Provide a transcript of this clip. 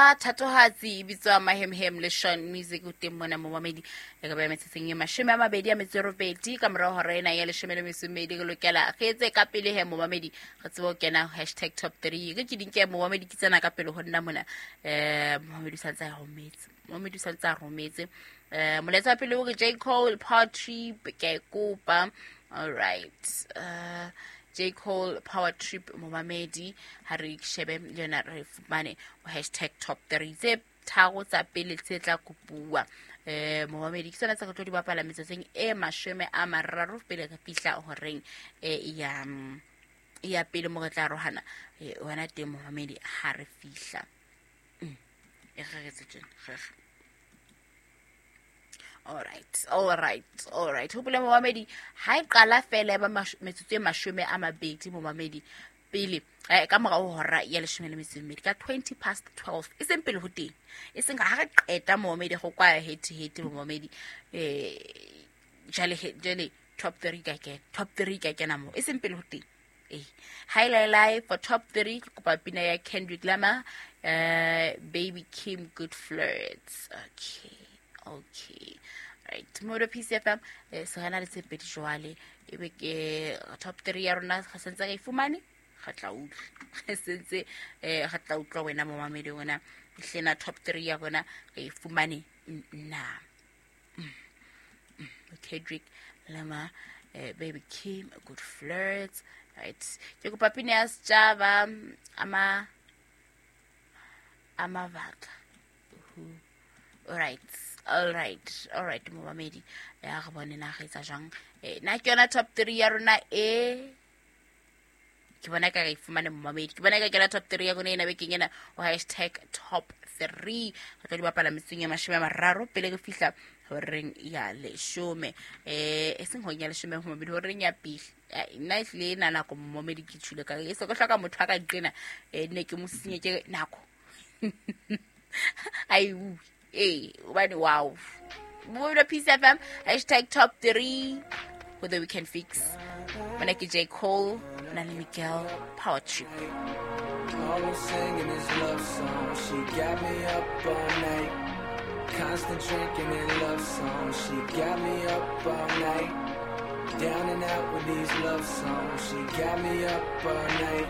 Thatohatsi e bitswa Mahemhem le Sean Music o teng mona momamedi e ka ba metsotsong e 28 ka morao hora ena ya 12 re lokela re etse ka pele he momamedi re tsebe ho kena hashtag top 3 re ke dinke momamedi ke tsena ka pele ho nna mona. Momamedi o santse a rometse, momamedi o santse a rometse. Molaetsa wa pele o re J Cole Power Trip, ke a e kopa. All right, J Cole Power Trip momamedi, ha re shebe le yona re fumane hashtag top 3 tse tharo tsa pele tse tla kopuwa. Momamedi ke tsona tse re tlo di bapala metsotsong e 30 pele re fihla horeng ya pele mo re tla arohana. Wena teng momamedi ha re fihla. E re re tse tjena, re re. All right, all right, all right. Hopola momamedi, ha e qala fela ba metsotso e 20 momamedi pele ka morao ho hora ya 12 ka 12:20, e seng pele ho teng, e seng ha re qeta momamedi go kwa heti heti momamedi. Jale top 3 ka kena, top 3 ka kena mo, e seng pele ho teng. Hi for top 3 ke kopa pina ya Kendrick Lamar, Baby Kim Good Flirts. Okay, okay, right. Modo PCFM, se rena le tse pedi jwale, ebe ke top 3 ya rona re sentse re e fumane, re tla utlwa. Re sentse re tla utlwa wena momamedi wena hlena top 3 ya rona re e fumane na. Kendrick Lamar, Baby Kim Good Flirts. Right, ke kopa pina ya setjhaba ama amabaka. All right, all right, all right momamedi, ya re bone na re etsa jwang. Na ke yona top 3 ya rona e ke bona ka re fumane momamedi, ke bona ka ke yona top 3 ya rona ena bekeng ena o hashtag top 3. Re tlo di bapala metsotsong e 30 pele re fihla horeng ya 10. E seng horeng ya 10 momamedi, horeng ya pele. Nna e hlile na nako momamedi ke tshule ka e se go hloka motho a ka qena, ne ke mo sinye ke nako. Ai hobane wow. Modo PCFM hashtag top 3 for the weekend fix. Mona ke J Cole na le Miguel Power Trip. Always singing his love song, she got me up all night. Constant drinking and love songs, she got me up all night. Down and out with these love songs, she got me up all night.